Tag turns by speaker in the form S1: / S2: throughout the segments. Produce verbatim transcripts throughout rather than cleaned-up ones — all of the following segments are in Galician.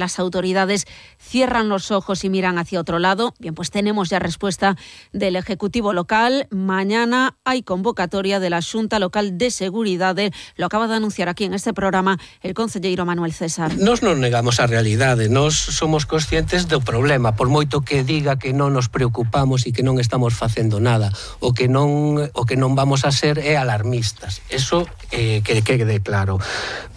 S1: las autoridades cierran los ojos y miran hacia otro lado. Bien, pues tenemos ya respuesta del Ejecutivo local. Mañana hay convocatoria de la Xunta Local de Seguridade. Lo acaba de anunciar aquí en este programa el concelleiro Manuel César.
S2: Nos non negamos a realidade, nos somos conscientes do problema, por moito que diga que non nos preocupamos e que non estamos facendo nada, o que non o que non vamos a ser é alarmistas. Eso eh, que quede claro.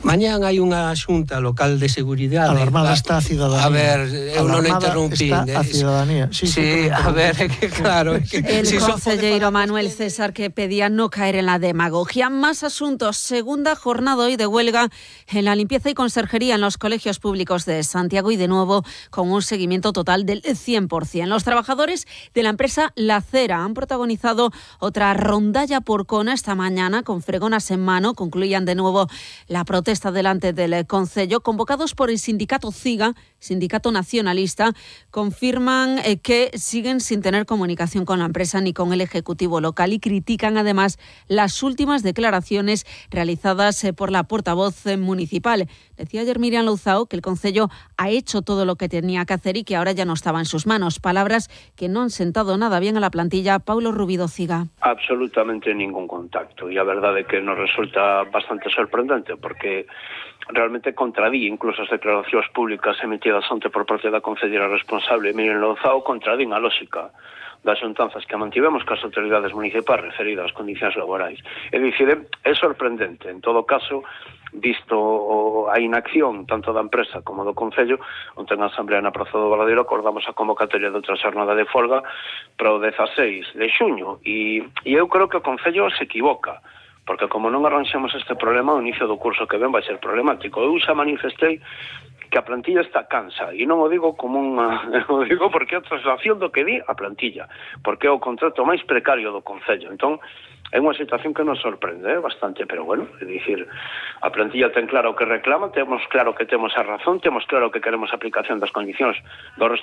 S2: Mañán hai unha Xunta Local de Seguridade.
S3: Alarmada está a cidadanía.
S2: A ver, eu non interrumpín.
S3: Está a cidadanía.
S2: Sí, sí, a ver, é que claro. Es que,
S1: el
S2: si
S1: concelleiro Manuel César que pedía no caer en la demagogia. Más asuntos. Segunda jornada hoy de huelga en la limpieza y conserjería en los colegios públicos de Santiago y de nuevo con un seguimiento total del cien por ciento. Los trabajadores de la empresa La Cera han protagonizado otra rondalla porcona esta mañana con fregonas en mano. Concluían de nuevo la protesta delante del concello, convocados por el sindicato CIGA, sindicato nacionalista. Confirman eh, que siguen sin tener comunicación con la empresa ni con el Ejecutivo local y critican además las últimas declaraciones realizadas eh, por la portavoz eh, municipal. Decía ayer Miriam Louzao que el concello ha hecho todo lo que tenía que hacer y que ahora ya no estaba en sus manos. Palabras que no han sentado nada bien a la plantilla. Paulo Rubido Ciga.
S4: Absolutamente ningún contacto e a verdade é que nos resulta bastante sorprendente porque realmente contradí incluso as declaracións públicas emitidas onte por parte da concelleira responsable Miriam Louzao, contradín a lógica das xuntanzas que mantivemos cas autoridades municipais referidas ás condicións laborais. É dicir, é sorprendente, en todo caso, visto a inacción tanto da empresa como do Concello, onte na Asamblea na Praza do Valadeiro acordamos a convocatoria de outra xornada de folga para o dezaseis de xuño e, e eu creo que o Concello se equivoca, porque como non arranxamos este problema, o inicio do curso que ven vai ser problemático. Eu xa manifestei que a plantilla está cansa, e non o digo como unha, o digo porque é a traslación do que di a plantilla, porque é o contrato máis precario do Concello. Entón, é unha situación que nos sorprende eh, bastante, pero bueno, é dicir, a plantilla ten claro o que reclama, temos claro que temos a razón, temos claro que queremos a aplicación das condicións do resto